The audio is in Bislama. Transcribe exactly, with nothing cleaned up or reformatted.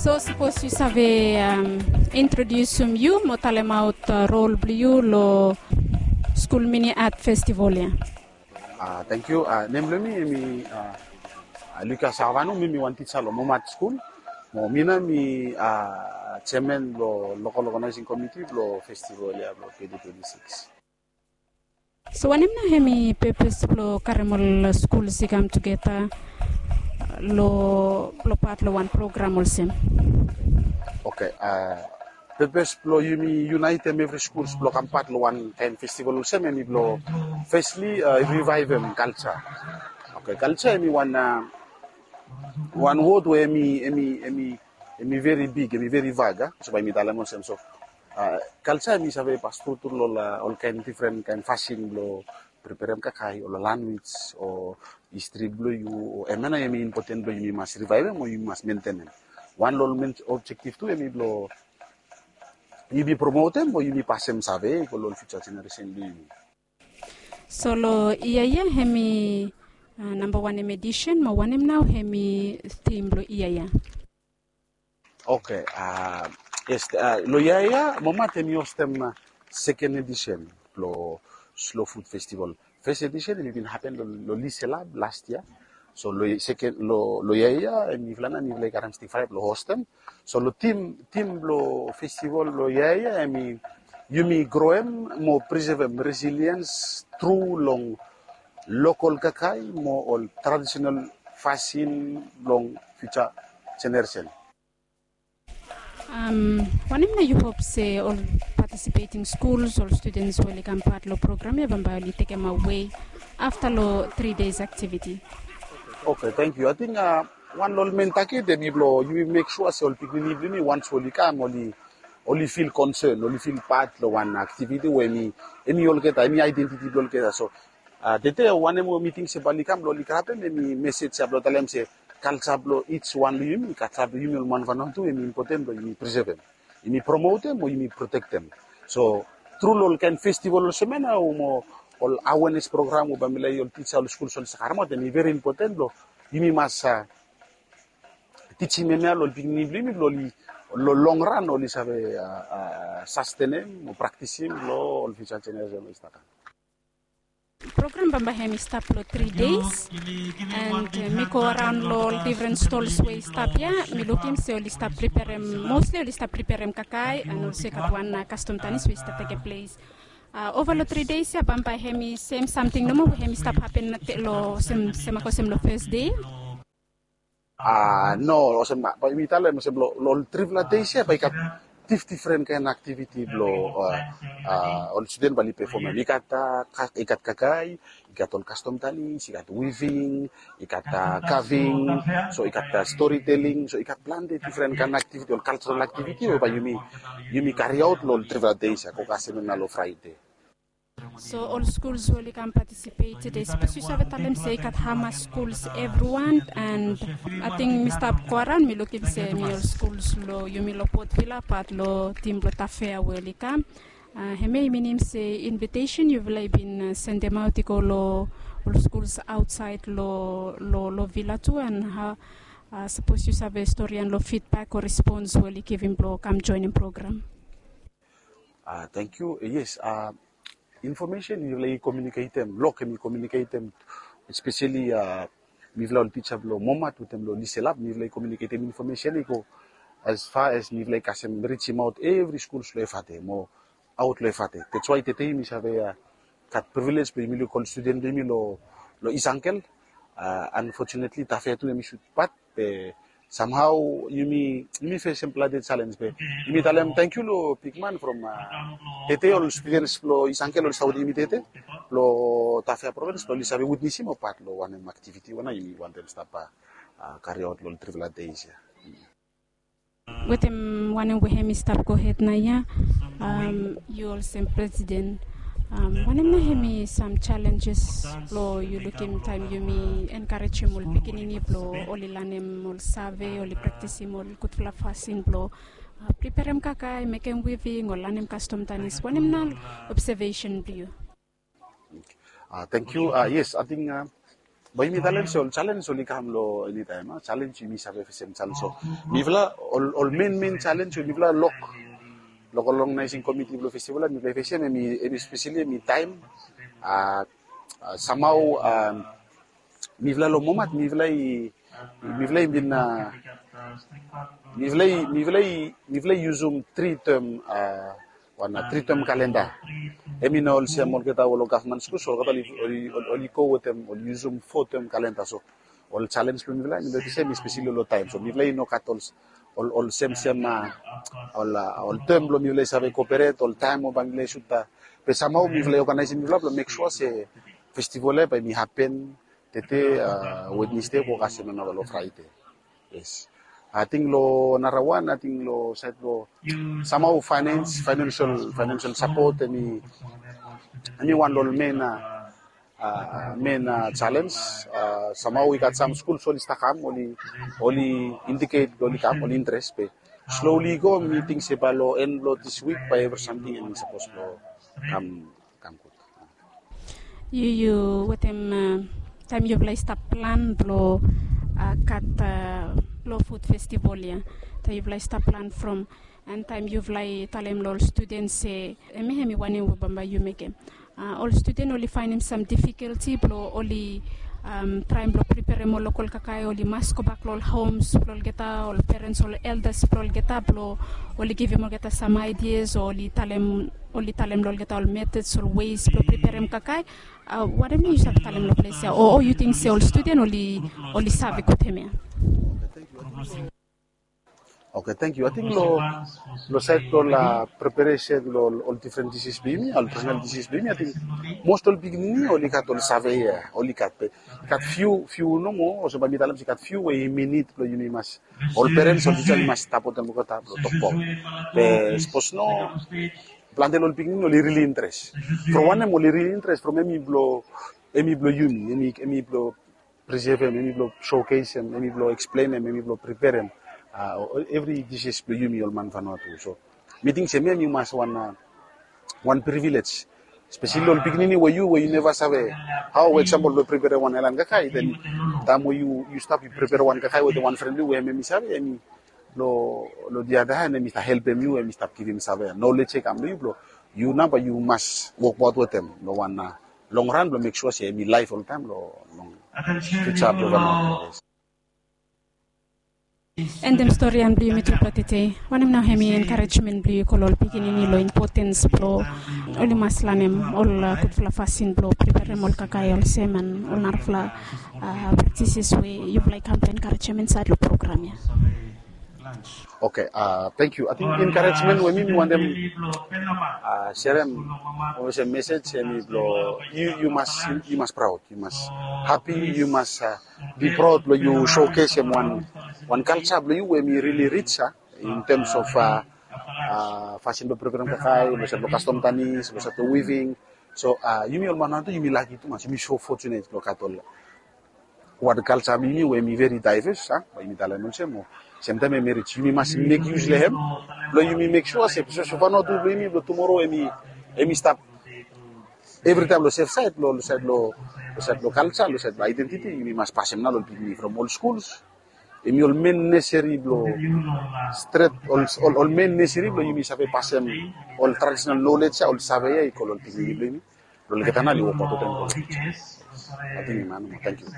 So sapos yu save, um, introdiusim yu mo talemaot, uh, rol blong yu lo skul mini art festival ya. Ah, thank you. Ah, nem blong mi, mi, ah, ah, Lucas Avanu, mi, mi wan tija lo Momat Skul. Mo mi nao mi, ah, chairman lo local organizing committee lo festival ya lo twenty twenty-six. So wanem nao hemi purpose blo karem ol skuls i kam tugeta lo, lo pat lo wan program olsem? Okay, ah, purpose blo yumi unitem evri skuls blo kam pat lo wan kaen festival olsem, hemi blo firstly, ah, revivem culture. Okay, culture hemi wan, ah, wan wod we hemi, hemi, hemi, hemi veri big, hemi veri vag, ah. So bae mi talem olsem, so, ah, culture hemi save pas tru tru lo ol, ah, ol kaen difren kaen fasin blo preperem kakae, o lo lanwis, o histri blo yu, o hemia nao hemi impoten blo yumi mas revivem o yumi mas mentenem. Wan lo ol men objektif tu hemi blo yumi promotem o yumi pasem save i go lo ol future generation blo yumi. So lo yia ya hemi, ah, namba wanem edisen mo wanem nao hemi theme blo yia ya? Okay, ah, yes, ah, lo yia ya Momat hemi hostem, ah, second edition blo Slow Food Festival. First edition hemi bin hapen lo, lo Liselab last year. So lo second, lo, lo yia ya, hemifala nao mifala i karem stik fala blo hostem. So lo theme, theme blo festival lo yia ya, hemi yumi groem mo presevem resilience tru long local kakae mo ol traditional fasin long future generation. Um, wanem nao yu hop se ol participating schools, ol students we oli kam pat lo program ya, bambae oli tekemaot wei afta lo three days activity? Okay, thank you. I think, ah, wan lo ol main target hemi blo yumi mek sua se ol pikinini blo yumi, once oli kam, oli, oli feel concern, oli feel pat lo wan activity we hemi, hemi olgeta, hemi identity blo olgeta. So, ah, tede wanem we mi ting se bae oli kam blo oli grabem, hemi message ya blo talem se culture blo each wan lo yumi, culture blo yumi ol man Vanuatu tu, hemi impoten blo yumi presevem, yumi promotem o yumi protektem. So tru lo ol kaen festival olsem ya nao mo ol awareness program we bae mifala i, ol tija, ol skuls oli save karemaot, hemi veri impoten blo yumi mas, ah, tijim hemia lo ol pikinini blo yumi blo oli, lo long run oli save, ah, ah, sastenem o praktisim lo ol future generation oli stap kam. Program bambae hemi stap lo three days, and, uh, mi go araon lo ol difren stols we i stap ya, mi lukim se oli stap preperem, mostly oli stap preperem kakae, and also i gat wan, uh, kastom tanis we i stap tekem ples. Uh, ova lo three days ya bambae hemi sem samting nomo we hemi stap hapen lo sem, sem olsem lo fes dei? Ah, no, olsem, ah, bae mi talem olsem lo, lo ol trifala dei ya bae i gat dif-, difren kaen aktiviti blo, ah, ah, ol studen bae oli pefomem. I gat, ah, ka-, i gat kakae, i gat ol kastom tanis, i gat weaving, i gat, ah, carving, so i gat, ah, storytelling, so i gat plante difren kaen aktiviti, ol cultural aktiviti we bae yumi, yumi kariaot lo ol trifala dei ya, go kasem hemia nao lo Fraede. So ol skuls we oli kam patisipet tede, sapos yu save talem se i gat hamas skuls evriwan, and ating mi stap go araon mi lukim se hemi ol skuls lo yumi lo Port Vila, pat lo tim blo Tafea we oli kam. Ah, hemia i minim se invitesen yufala i bin, ah, sendemaot i go lo ol skuls aotsaed lo, lo, lo Vila tu, and hao, ah, sapos yu save storian lo feedback o respons we oli givim blo kam joenem program? Ah, thank you. Yes, ah, infomesen mifala i komiuniketem, Lok hemi komiuniketem, espeseli, ah, mifala ol tija blo Momat wetem lo Liselab, mifala i komiuniketem infomesen i go as far as mifala i kasem rijimaot evri skuls lo Efate mo aot lo Efate. That's why tede mi save, ah, gat privilege blo yumi luk ol studen blo yumi lo, lo East Uncle. Ah, unfortunately, Tafea tu hemi sud pat, be somehow yumi, yumi fesem plante jalenj, be yumi talem tangkiu lo bigman from, ah, tede ol students blo East Uncle oli stap wetem yumi tede lo Tafea provins blo oli save witnesim ol pat lo wanem aktiviti we nao yumi wantem stap, ah, kariaot lo ol trifala dei ya. Wetem wanem we hemi stap gohed naoia, um, yu olsem presiden, um, wanem nao hemi sam jalenjes blo yu lukim taem yumi enkarejem ol pikinini blo oli lanem ol save, oli praktisim ol gudfala fasin blo, uh, preperem kakae, mekem weaving o lanem kastom tanis, wanem nao obsevesen blo yu? Ah, tangkiu. Ah, yes, ating, ah, Bae yumi talem se ol challenge oli kam long eni taem, a challenge yumi save fesem challenge. So mifala ol ol main main challenge we mifala lok, local organizing committee blong festival ya mifala i fesem, hemi hemi specially hemi taem. A samhao mifala long momat mifala i mifala i bin a mifala i mifala i mifala i yusum tri term, a wan tri term kalenda. Hemi no olsem olgeta ol gavman skuls, olgeta oli oli oli go wetem oli yusum fo term kalenda. So ol challenge blong mifala hemi no olsem, especially long taem. So mifala i no gat ol ol ol semsem a ol a ol term blong mifala i save cooperate ol taem we bae mifala i sut a. Be samhao mifala i organizem mifala blong mek sua se festival ya bae hemi hapen tede, a Wednesday go kasem nao long Friday. Yes. Ating long narawan ating long saed blong samhao finance, financial financial support, hemi hemi wan long ol main a a main a challenge. A samhao i gat sam skuls oli stap kam, oli oli indicate blong oli kam, oli interes. Be slowly i go, mi ting se bae long en blong this week bae evri samting hemi sapos blong kam kam gud. Yu yu wetem taem yufala i stap plan blong gat long food festival ya, taem yufala i stap plan from an taem yufala i talem long ol studen se hemi hemi wanem we bambae yu mekem, ol studen oli faenem sam difikulti blong oli traem blong priperem ol lokol kakae, oli mas gobak long ol homes blong olgeta, ol perens, ol eldas blong olgeta blong oli givim olgeta sam aidias o oli talem oli talem long olgeta ol metods ol weis blong priperem kakae. Wanem yu save talem long ples ya o yu ting se ol studen oli oli save gud hemia? Oke, tangkiu. Ating long saed blong ol preparesen blong ol difren disis blong yumi, ol tradisenal disis blong yumi, ating mos ol pikinini oli gat ol save ya, oli gat be gat fiu fiu nomo, olsem bae mi talem se gat fiu we yumi nid blong yumi mas, ol perens, ol tisa oli mas stap wetem olgeta blong toktok. Be sapos no, plante long ol pikinini oli rili interes. From wanem oli rili interes? From hemi blong hemi blong yumi, hemi hemi blong prisevem, hemi blong showcasem, hemi blong eksplenem, hemi blong priperem evri disis blong yumi ol man Vanuatu. So mi ting se hemia hemi mas wan wan privilej, espeseli ol pikinini we yu we yu neva save hao we eksampol blong priperem wan aelan kakae, den taem we yu yu stap yu priperem wan kakae wetem wan fren blong yu we hemi save, hemi long long the other hand hemi stap helpem yu, hemi stap givim save ya, nolej ya i kam long yu blong yu nao bae yu mas wokbaot wetem long wan long ran blong mek sua se hemi laef oltaem long long fiuja blong Vanuatu. Endem stori ya blong yumi tupela tede. Wanem nao hemi enkarejmen blong yu go long ol pikinini long impotens blong oli mas lanem ol gudfala fasin blong priperem ol kakae olsem an ol narafala praktises we yufala i kam blong enkarejim insaed long program ya? Oke, tangkiu. Ating enkarejmen we mi mi wantem serem olsem mesej hemi blong yu yu mas yu mas praod, yu mas hapi, yu mas bi praod blong yu showcasem wan wan kalja blong yu we hemi rili rij ya, in terms of fasin blong priperem kakae, long saed blong kastom tanis, long saed blong weaving. So yumi ol man Vanuatu yumi laki tumas, yumi so fortunate blong gat ol wan kalja blong yumi we hemi veri daeves, bae yumi talem olsem, o semtaem hemi rij. Yumi mas mek yus long hem blong yumi mek sua se sapos Vanuatu blong yumi blong tumoro hemi hemi stap evritaem long sef saed, long saed long saed blong kalja, long saed blong aedentiti, yumi mas pasem nao long pikinini from ol skuls. Hemi ol men neseseri blong stret ol ol men neseseri blong yumi save pasem ol tradisenal nolej ya, ol save ya i go long ol pikinini blong yumi blong olgeta nao oli wokbaot wetem go long fiuja. Ating hemia nao. Tangkiu.